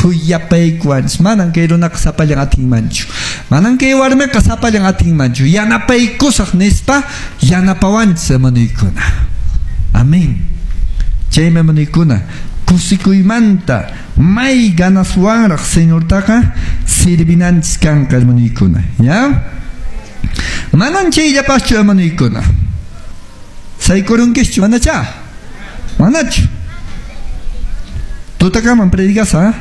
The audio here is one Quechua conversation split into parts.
Khuyapaykuwanchis. Manan kay runaqa sapallan atinmanchu. Manan kay warmiqa sapallan atinmanchu. Yanapaykusaq nispa yanapawanchis, hermanoykuna. Amén. Chaymi, hermanoykuna, kusikuymanta may ganaswanraq Señortaqa sirvinanchis kanqa, hermanoykuna. ¿Ya? Manan chayllapaschu, hermanoykuna. Saykurunkischu, manacha? Manachu? Tutakaman predicasa.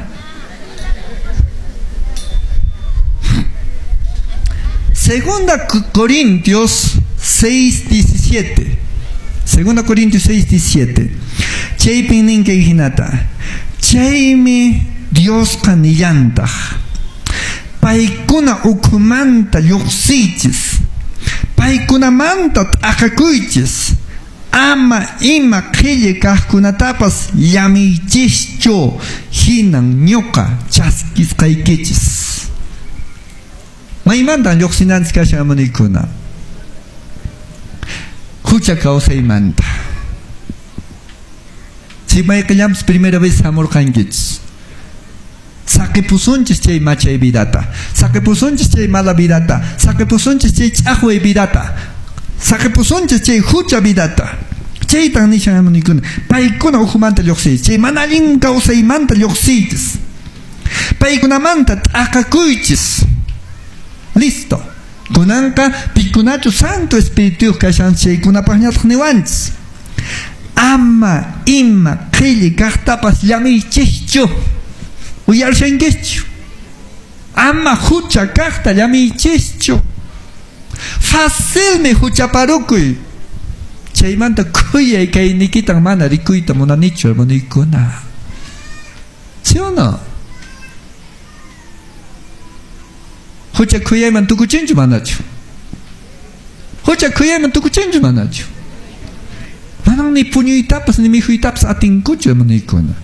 Segunda Corintios 6:17. Segunda Corintios 6:17. Chaypin nin kay hinata. Chaymi Diosqa nillantaq. Paykuna ukhumanta lluqsiychis. Paykunamanta t'aqakuychis. Ama ima qhilli kaqkunatapas llamiychischu, hinan ñuqa chaskisqaykichis. Maymantan lluqsinanchis kashan, hermanoykuna? Hucha kawsaymanta. Si mayqillanpis primera vez hamurqankichis. Saqipusunchis chay machay vidata. Saqipusunchis chay mala vidata. Saqipusunchis chay ch'aqway vidata. Saqipusunchis chay hucha vidata. Chaytan nishan, hermanoykuna. Paykuna ukhumanta lluqsiychis. Chay mana allin kawsaymanta lluqsiychis. Paykunamanta t'aqakuychis. Listo. Kunanqa pikunachu Santo Espíritu kashan chaykunapaqñataq niwanchis. Ama ima qhilli kaqtapas llamiychischu. Uyarishankischu. Ama hucha kaqta llamiychischu. Facilmi huchaparukuy. Chaymanta khuyay kaynikitan mana rikuyta munanichu, hermanoykuna. ¿Sí o no? Hucha khuyayman tukuchinchu manachu? Hucha khuyayman tukuchinchu manachu? Manan ni puñuytapas ni mikhuytapas atinkuchu, hermanoykuna.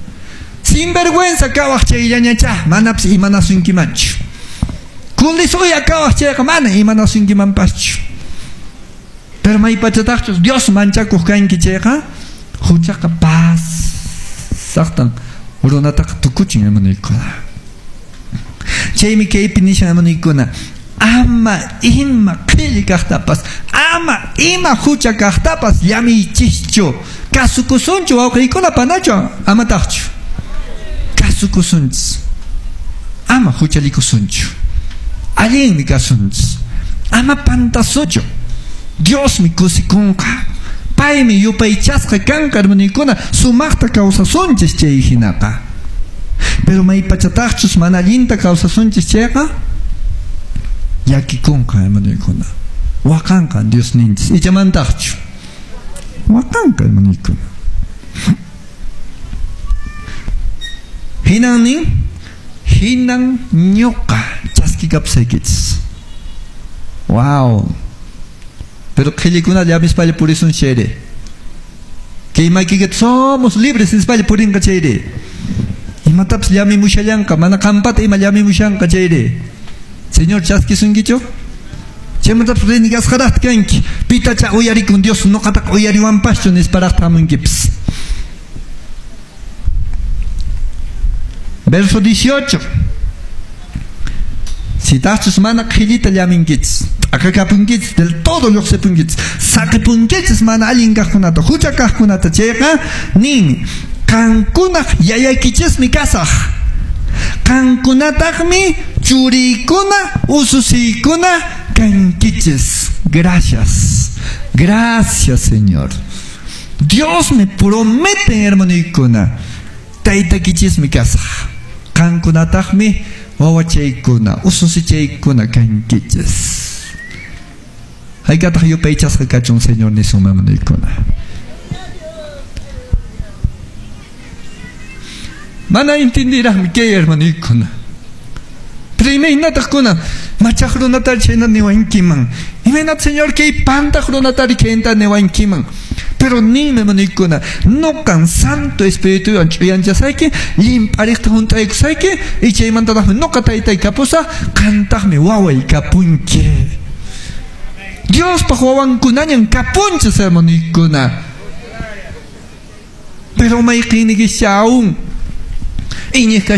Sinvergüenza kawaq chayllañacha, manapas imanasunkimanchu. Kulisuya kawaq chayqa mana imanasunkimanpaschu. Pero maypachataqchus Dios manchakuq kanki chayqa, huchaqa pasaqtan runataqa tukuchin, hermanoykuna. Chaymi kaypi nishan, hermanoykuna, ama ima qhilli kaqtapas, ama ima hucha kaqtapas llamiychischu. Kasukusunchu wawqiykuna panachu, amataqchu. Kasukusunchis. Ama huchallikusunchu. Allinmi kasunchis. Ama pantasunchu. Diosmi kusikunqa. Paymi yupaychasqa kanqa, hermanoykuna, sumaqta kawsasunchis chay hinaqa. Pero maypachataqchus mana allinta kawsasunchis chayqa, llakikunqa, hermanoykuna. Waqanqa Diosninchis. Ichamantaqchu. Waqanqa, hermanoykuna. Hinan nin, hinan ñuqa chaskikapusaykichis. Wow. Pero qhillikuna llamispalla purisun chayri. Kay maykikita somos libres nispalla purinqa chayri. Imatapas llamimushallanqa, mana qampata ima llamimushanqa chayri. Señor chaskisunkichu? Chaymantapas renegasqaraqta kanki. Pitacha uyarikun Dios ñuqataqa uyariwanpaschu nisparaqta hamunkipis. Verso 18. Si tachus mana qhillita llaminkichis, t'aqakapunkichis, del todo lluqsipunkichis, saqipunkichis mana allin kaqkunata, hucha kaqkunata chayqa, nin, qankunaq yayaykichismi kasaq. Qankunataqmi churiykuna, ususiykuna kankichis. Gracias. Gracias, Señor. Dios me promete, hermanoykuna, taytakichismi kasaq. Qankunataqmi wawachaykuna, ususichaykuna kankichis. Haykataq yupaychasqa kachun, Señor nisun, hermanoykuna. Mana entendiraqmi kay, hermanoykuna. Pero imaynataq kuna machaq runatari chayna niwankiman. Imaynataq, Señor, kay pantaq runatari chayna niwankiman. Pero ninmi, hermanoykuna, nuqan Santo Espirituwan ch'uyanchasayki, llimp'ariqta hunt'aykusayki, y chaymantataqmi nuqa taytay kapusaq, qantaqmi waway kapunki. Diospaq wawankunañan kapunchis, hermanoykuna. Pero mayqinnikischa aún iñiq kasha